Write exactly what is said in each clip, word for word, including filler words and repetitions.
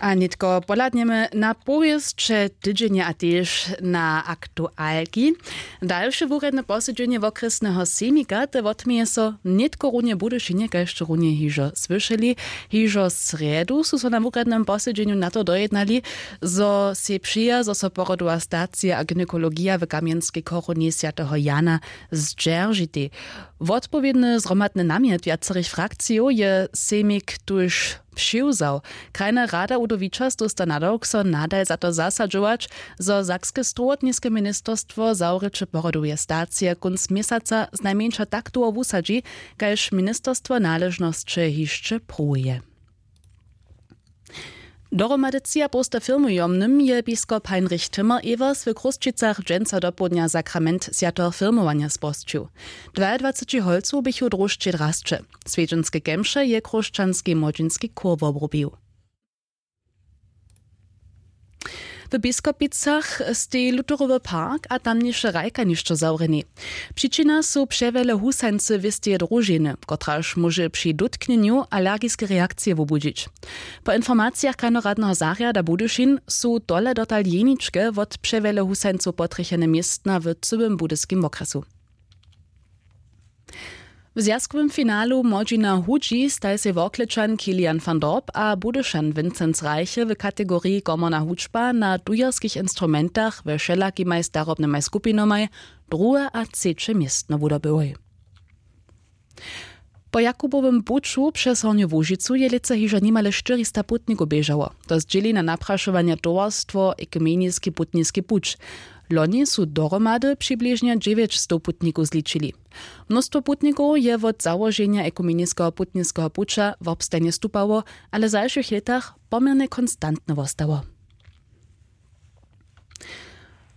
A nětko pohladnjemy na powěsće tydźenja a tež na aktualki. Dalše wurjedne posedźenje wokrjesneho sejmika te wotměje so nětko runje w budyšinje, kaž runje hižo słyšeli. Hižo srjedu su so na wurjednym posedźenju na to dojednali, zo sej přeja zo so porodowa stacija a gynekologija w kamjenskej chorowni swjateho jana zdźeržitej. Wotpowědny zhromadny namjet wjacerych frakcijow je sejmik tuž přiwzał. Krajna rada udowičas dósta nadawk so nadal za to zasadźować, zo sakske strowotniske ministerstwo zawrěće porodoweje stacije kónc měsaca znajmjeńša tak dołho wusadźi, kaž ministerstwo naležnosće hišće pruwuje. Dohromady třiapołsta firmujomnym je biskop heinrich timmer-evers w chrósćicach dźensa dopołdnja sakrament swjateho firmowanja spožčił. Dwajadwaceći holcow běchu w dróždźej drasće. Swjedźenske kemše je chróšćanski młodźinski chór wobrubił. W biskopicach stej lutherowy park a tamniše hrajkanišćo zawrjeni. Přičina su přewjele husańcy wěsteje družiny, kotraž móže při dótknjenju alergiske reakcije wobudźić. Po informacijach krajnoradneho zarjada budyšin su tole dotal jeničke wot přewjele husańcow potrjechene městna w cyłym budyskim wokrjesu. W zwjazkowym finalu młodźina hudźi staj sej worklečan kilian van dorp a budyšan vincenz reiche w kategoriji komorna hudźba na dujerskich instrumentach we wšelakimaj starobnymaj skupinomaj druhe a třeće městno wudobyłoj. Po jakubowym puću přez hornju łužicu je lětsa hižo nimale štyrista putnikow běžało. To zdźěli na naprašowanje towarstwo ekumeniski putniski puć. Loni su dohromady přibližnje dźewjećstow putnikow zličili. Mnóstwo putnikow je wot załoženja ekumeniskeho putniskeho puća wobstajnje stupało, ale w zašłych lětach poměrnje konstantne wostało.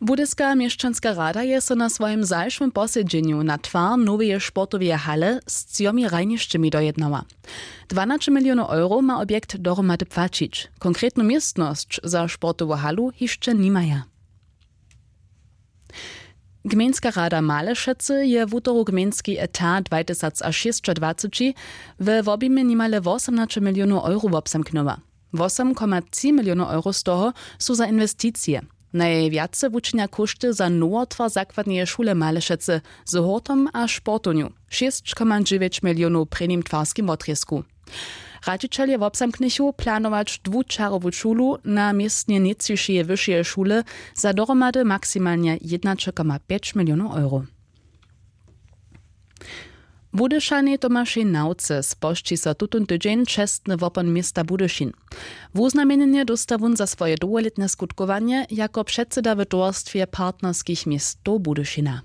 Budyska měšćanska rada je so na swojim zašłym posedźenju na twar noweje sportoweje hale z třomi hrajnišćemi dojednała. Dwanaće milionow euro ma objekt dohromady płaćić. Konkretnu městnosć za sportowu halu hišće nimaja. Gmejnska rada malešecy je wutoru gmejnski etat dwajtysacašěsćadwaceći we wobjimje nimale wosomnaće milionow euro wobzamknyła. Wosomkomatři milionow euro z toho su za inwesticije. Najwjace wučinja kóšty za nowotwar zakładneje šule malešecy z hórtom a sportownju, šěsćkomadźewjeć milionow w prěnim twarskim wotrězku. Radźićelje wobzamknychu planować dwučarowu šulu na městnje nětčišeje wyšeje šule za dohromady maksimalnje jědnaće koma pjeć milionow euro. Budyšanej tomašej nawce spožči so tutón tydźeń čestny wopon města budyšin. Wuznamjenjenje dósta wón za swoje dołholětne skutkowanje jako předseda w towarstwje partnerskich městow budyšina.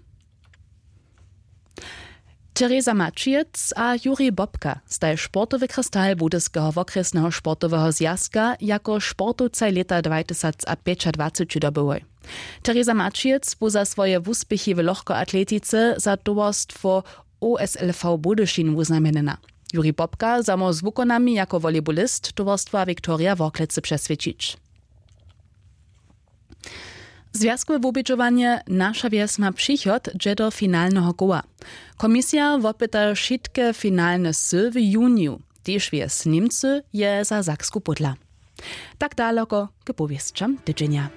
Tereza Maćijec a Jurij Bobka staj sportowy kristal budyskeho wokrjesneho sportoweho zwjazka jako sportowcaj lěta dwajtysacapjećadwaceći dobyłoj. Tereza Maćijec bu za swoje wuspěchi w lochkoatletice za towarstwo O S L V Budyšin wuznamjenjena. Jurij Bobka za mor z wukonami jako volejbolist towarstwa Viktoria Worklecy přeswědčić. Zwjazkowe wubědźowanje Naša wjes ma přichod dźe do finalneho koła. Komisija wopyta wšitke finalne sy w juniju. Tež wjes Němcy je za Saksku pódla. Tak daloko k powěsćam tydźenja.